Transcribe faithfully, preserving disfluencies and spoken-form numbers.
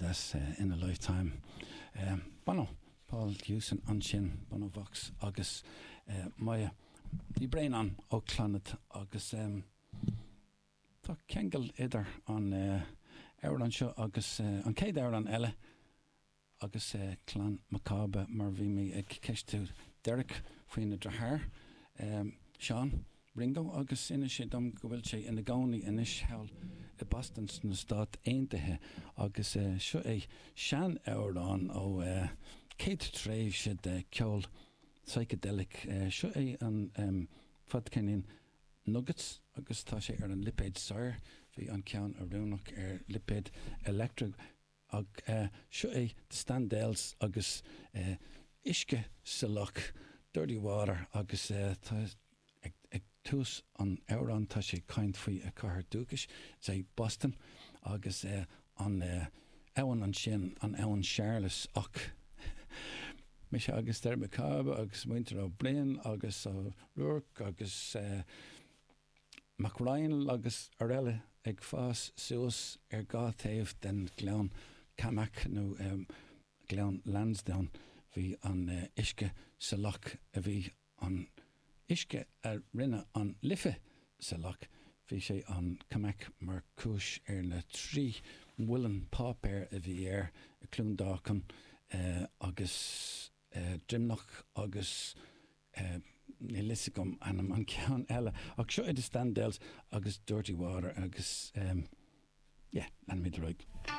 Success in a Lifetime. Bono, Paul Hewson ansin, Bono Vox agus Moya Ní Bhraonáin ó Clannad agus tá ceangal idir an amhrán seo agus an chéad amhrán eile agus clann Mac Cába mar bhí mé ag ceistiú Derek faoina dheartháir Seán Ringo agus inis sé dom go bhfuil sé ina gcónaí anois thall i Boston sna Stáit Aontaithe agus seo é sean-amhrán ó chéad tréimhse de ceol psychedelic. Seo é an fadcheirnín Nuggets agus tá sé ar an lipéad Sire, bhí an ceann oiriúnach ar lipéad Elektra ach seo é The Standells agus uisce sa loch, Dirty Water agus tá ag tús an amhráin tá sé ag caint faoi a chathair dúchais, is é Boston agus an abhainn ansin an abhainn Charles ach mise agus Derek Mac Cába agus muintir Ó Broin agus Ó Ruairc agus Mac Ryan agus araile ag fás suas ar dhá taobh den Ghleann Camac nó Gleann Lansdowne bhí an uisce sa loch a bhí an uisce a rinne an Life sa loch bhí sé an Camac mar chúis ar na trí mhuileann páipéir a bhí air i Cluain Dolcáin agus Droimneach agus níl fhios agam ainm an ceann eile ach seo é The Standells agus Dirty Water agus yeah, leanfaimid ar aghaidh.